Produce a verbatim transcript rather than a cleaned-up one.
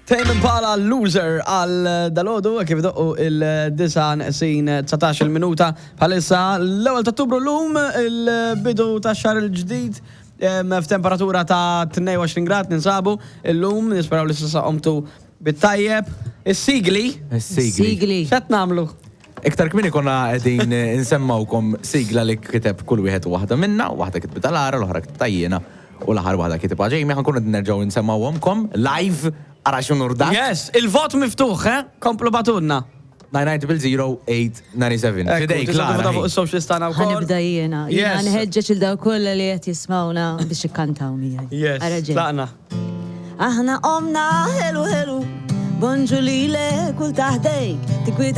Tame Impala, Loser għal dalgħodu, kif doqqu id-disgħa neqsin dsatax-il minuta bħalissa, l-ewwel ta' Ottubru llum, il-bidu ta' xahar il-ġdid, em, f'temperatura ta' tnejn u għoxrin grad ninsabu illum, nisperaw li s'issa qomtu bit-tajjeb. Is-sigli, Sigli. Sigli. X'qed nagħmlu? Iktar kmieni konna qegħdin insemmawkom sigla li kiteb kull wieħed u waħda minna, waħda kitbitha Lara, l-oħra kitbitha jiena, u l-aħħar waħda kitibha Jamie, ħa nkunu nerġgħu nsemmawhomkom live, ara x'unur dak. Yes, il-vot miftuħ, eh? Komplu ibagħtulna. nine nine zero zero eight nine seven. Fidejk, Lara. Fuq is-social tagħna Ħa wkoll. nibda jiena. Jiena Yes. nħeġġeġ lil dawk kollha li qed jismawna biex ikkantaw miegħi. Yes, Ara ġej. tlaqna. Aħna qomna ħelu ħelu, bonġu lilek kull taħdejk, tikwita.